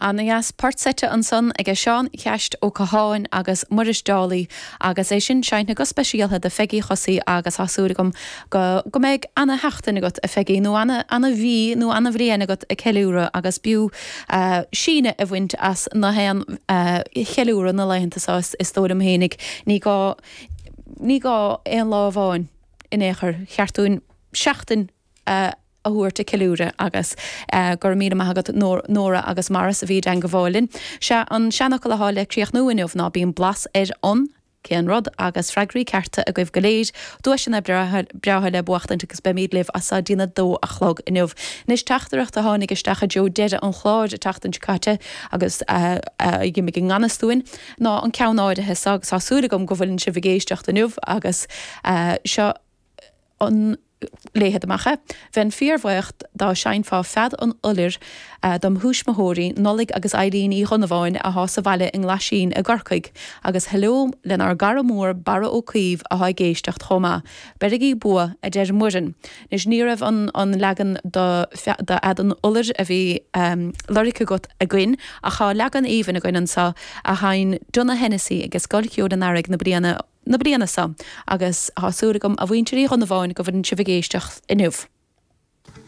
Ana dheas. Port seite ansan aige Seán Cheaist Ó Catháin agus Muiris Dálaigh agus é sin seinnte go speisialtha do Pheigí Chosaí agus tá súil agam go go mbeidh ana sheachtain agat a Pheigí nó ana ana mhí nó ana bhliain agat ag ceiliúradh agus b'fhiú síneadh a bhaint as na haon cheiliúradh na laethanta seo is dóigh liom fhéinig. Ní gá ní gá aon lá amháin in aon chor. Cheart dúinn seachtain a a thabhairt ag ceiliúradh agus go raibh míle maith agat Nóra agus Maurice a bhí i dteangabháil linn. Sea, an seanfhocal athá le críochnú inniu ná bíonn blas ar an, cén rud, agus freagraí cearta agaibh go léir, duaiseanna breátha le buachtaint agus beimíd libh as so dtí'n 2 a chlog inniu. Anois teachtaireacht a tháinig isteach i dtreo deireadh an chláir an tseachtain seo caite agus a d'imigh i ngan fhios dúinn ná an ceann áirithe so agus tá súil agam go bhfuileann sibh ag éisteacht inniu agus seo an léifead amach é. Bheinn fíorbhuíoch dá seinnfeá Fead an Iolair dom thuismitheoirí, Nollaig agus Eileen Uí Dhonnabháin athá sa bhaile i nGlaisín i gCorcaigh, agus heileo lenár gcara mór Barra Ó Caoimh athá ag éisteacht chomh maith. Beirigí bua, a deir Muireann. Anois ní raibh an an leagan do d'Fhead an Iolair a bhí lorgtha agat againn, ach thá leagan aoibhinn againn anso a sheinn Donagh Hennessy ag Scoil Cheoil an Earraigh na bliana na bliana so agus thá súil agam a mhuintir Uí Dhonnabháin go bhfuileann sibh ag éisteacht inniu.